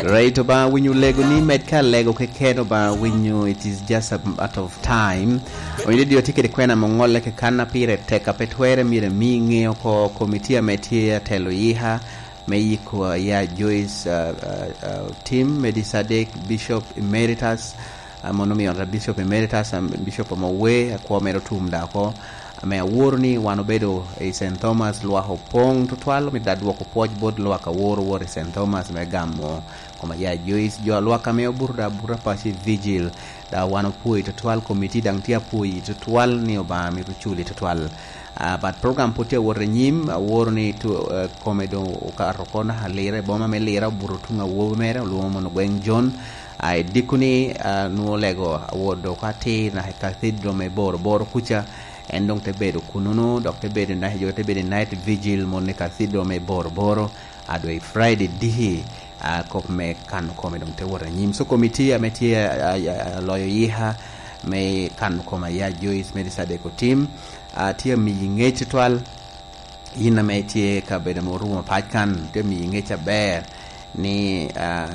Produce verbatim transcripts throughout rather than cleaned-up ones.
Right, Obaŋa winyo lego ni med ka lego keken, Obaŋa winyo, it is just a matter of time. Winyo ni dio tye kede kwena mo ŋolle ke kan a pire tek a pe twere myero emi ŋe oko komiti ame tye atelo yika me yiko, uh, ya Joyce, uh, uh, uh, Tim Medi Sadek, Bishop Emeritus, uh, mono omiyo ata Bishop Emeritus, um, Bishop Omowe, akwo mere otum da oko, ame aworo ni wan obedo i Saint Thomas, lwak opoŋ tutwal, omito da dwoko pwoc bot lwak aworo wot i Saint Thomas me gamo koma ya Joyce, jo a lwak ame obuto da abuta paco i vigil, da wan opwoyi tutwal, komiti daŋ tye apwoyi tutwal ni Obaŋa mito culi tutwal. Ah, but program pwod tye awot i nyim, aworo ni tu-, eh, kome doŋ okato oko naka Lira, i boma me Lira, obuto tuŋ awobi mere, olwoŋo mono Gweŋ John. Ah, i dikoni, ah, nwoŋo lego awot dok atir naka i Cathedral me Boro Boro kuca, en doŋ te bedo kununu, dok te bedo naka, jo te bedo i night vigil mono i Cathedral me Boro Boro, a doŋ i Friday diki, a kop me kano kome doŋ te wot anyim. So, komiti ame tye, a, a, a, aloyo yika me kano kome a ya Joyce Medi Sadek Otim, a, tye amiyi ŋec tutwal, yin ame tye kabedo ame orumo pac kan, tye amiyi ŋec aber ni, a,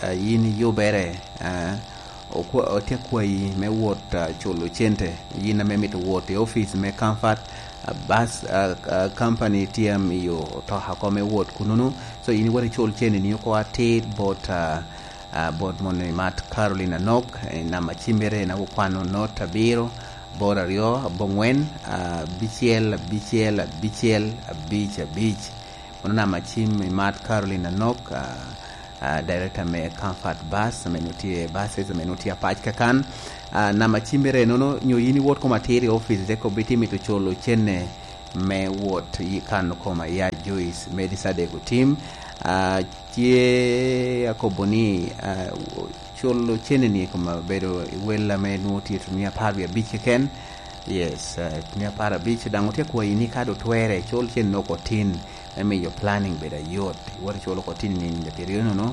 a, yin iyubere, a, okwa-, otye akwayi me wot, a, culo cente. Yin ame mito wot i office me Comfort, a, bus, a, a, company tye amiyo otoka oko me wot kununu. So, yin iwot icul cene ni oko atir bot, a, a, bot moni Mat Caroline Anok, e, namba cimmere en akwano not abiro, boro aryo, aboŋwen, a, abicel, abicel, abicel, abic, abic. Mano namba cim i Mat Caroline Anok, a, a, director me Comfort Bus, ame nwoŋo tye, buses, ame nwoŋo tye apac kakan. A, namba cimmere enono, nyo yin iwot koma atir i office, te kobbi ti mito culo cene me wot i kano koma ya Joyce Medi Sadek Otim. A, tye akobo ni, a, culo cene ni koma bedo i wel ame nwoŋo tye tunia apar wie abic keken. Yes, a, tunia apar abic, daŋ otye akwayi ni ka doŋ twere, cul cene oko tin. Me miyo planning bedo ayot. Iwot iculo oko tin i nino pyeraryo nono,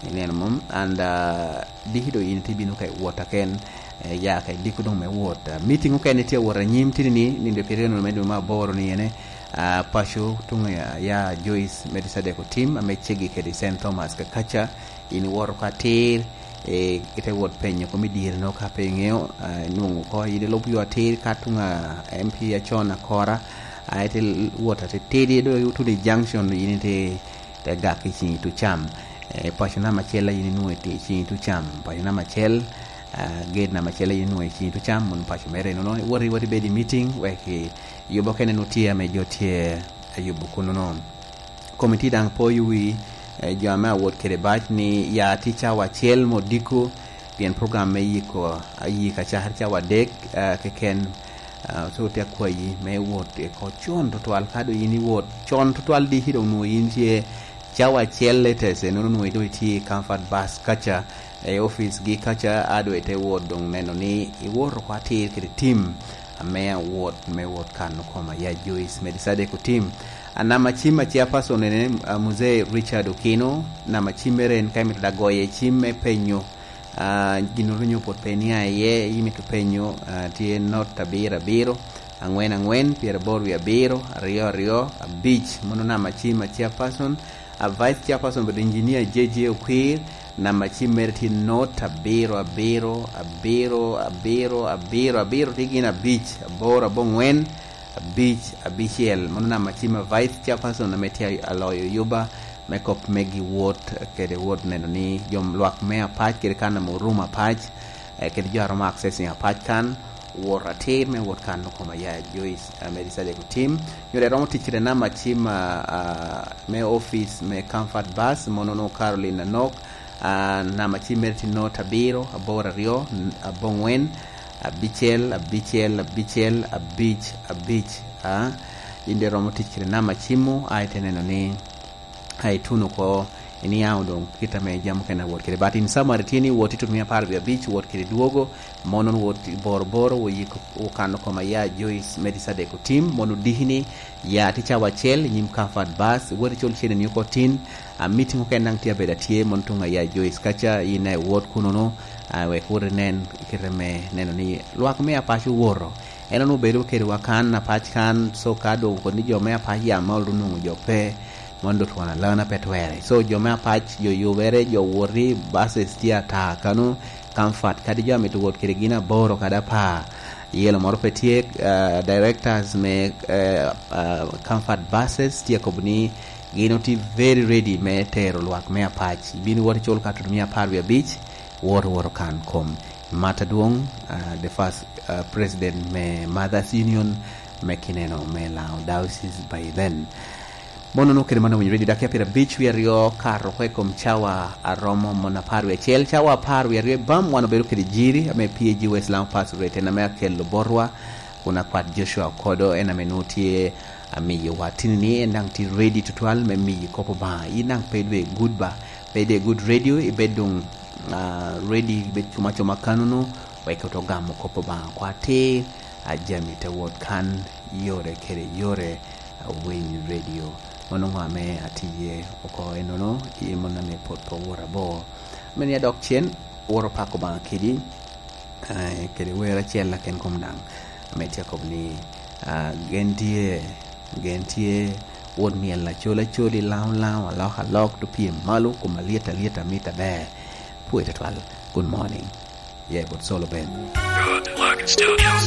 ineno mom? And, uh, diki doŋ yin itye bino ka i wot aken, eh, ya ka i diko doŋ me wot. Uh, meeting okene tye awot anyim tini ni, nino pyeraryo nono me dwe me aboro ni ene, uh, paco tuŋ, uh, ya Joyce Medi Sadek Otim, ame ceggi kede Saint Thomas kakaca, yin iwoto oko atir, eh, ite wot penyo kom i dyere no ka pe iŋeo, ah, inwoŋo oko, yin ilub yo atir ka tuŋ a M P acon akora, ah, ite l-, wot atitidi, do ituno i junction, yin ite, ite gak i ciŋ itucam. Eh, paco namba acel a yin inwoŋo i ti-, ciŋ itucam, paco namba acel, ah, gate namba acel a yin inwoŋo i ciŋ itucam, mono paco mere nono, iwot, iwot ibed i meeting, wek i yubo kene nu tye ame jo tye ayubo kuno no. Komiti daŋ poyo wi, eh, jo ame awot kede bac ni ya tye cawa acel me odiko, pien program me yiko, a, yiko acakere cawa adek, eh, keken, eh, so tye akwayi me wot oko con tutwal. Ka doŋ yin iwot con tutwal diki doŋ nwoŋo yin tye cawa acel latest, enono nwoŋo doŋ itye i Comfort Bus kaca, i office gi kaca, a doŋ ite wot doŋ neno ni iwot oko atir kede tim ame awot me wot kano koma ya Joyce Medi Sadek Otim. A, namba cim a chairperson ene, a, Mzee Richard Okino, namba cimmere en ka imito da goye cim me penyo, a, gin orunyo pwod pe nia iye, imito penyo, a, tye not abiro abiro, angwen angwen, pyeraboro wie abiro, aryo aryo, abic, mono namba cim a chairperson. A, vice chairperson obedo engineer J J Okwir, namba cim mere tye not abiro abiro, abiro, abiro, abiro, abiro, tye gin abic, aboro, aboŋwen, abic, abicel. Mano namba cim a vice chairperson ame tye aloyo yuba me kop me gi wot kede wot neno ni jo lwak me apac kede kan ame orumo apac, eh, kede jo a romo accessing apac kan, wot atir me wot kano koma ya Joyce, eh, Medi Sadek Otim. Nyo dek romo tic kede namba cim, ah, ah, me office me Comfort Bus, mono no Caroline Anok, ah, namba cim mere tye not abiro, aboro aryo, n-, aboŋwen, abicel, abicel, abicel, abic, abic, ah. In dek romo tic kede namba cimmu, a ite neno ni a ituno oko, iniaŋo doŋ kit ame jami okene awot kede. But in summary tye ni wot i tutumia apar wie abic, wot kede dwogo, mono wot i boro boro, wo yiko, wo kano koma ya Joyce Medi Sadek Otim, mono diki ni ya ti cawa acel i nyim Comfort Bus, wot icul cene ni oko tin, a, meeting okene daŋ tye abedo atye, mono tuŋ a ya Joyce kaca, in a iwot kunono, a, wek wot inen kit ame neno ni lwak me apac owoto. En onwoŋo bedo kedwa kan, apac kan, so ka doŋ kodi ni jo me apac ya ma olu nwoŋo jo pe, Mondo twon alana pe twere. So, jo me Apac, jo yubere, jo woti, buses tye ata kano, Comfort, kadi jo amito wot kede gin aboro kadi apar. Yelo moro pe tye, eh, directors me, eh, eh, Comfort Buses tye akobo ni gin otye very ready me tero lwak me Apac. Ibino wot icul ka tutu mia apar wie abic, wot, wot okan kom. Mata dwong, eh, the first, eh, president me Mothers Union me kineno me Lango Diocese by then. Mono nwoŋo kede man owinyo redio dakika pyerabic wie aryo kato oko i kom cawa aromo mon apar wie acel. Cawa apar wie aryo i bam wan obedo kede jiri ame P A G West Lango Pastorate en ame akelo botwa, kun akwat Joshua Okodo en ame nwoŋo tye amiyowa tini ni en daŋ tye ready tutwal me miyi kop Obaŋa. In daŋ pe idwe good ba, pe idwe good radio, ibed doŋ, ah, ready, ibed cuma cuma kanono, wek oto gamo kop Obaŋa kwa atir, a jami te wot kan yore kede yore. Awiny Radio. Mano ŋo ame atye oko enono, i mon ame pwod pe owot abor. Ame ni adok cen, woro pako Obaŋa kedi, eh, kede wer acel aken kom daŋ. Ame tye akobo ni, ah, gen tye, gen tye, wot myel acol acol, i laŋo laŋo, alok alok, to pye malo, kom alyet alyet, amit aber. Pwoyo tutwal. Good morning. Yeah, but solo band. Good luck, Studios.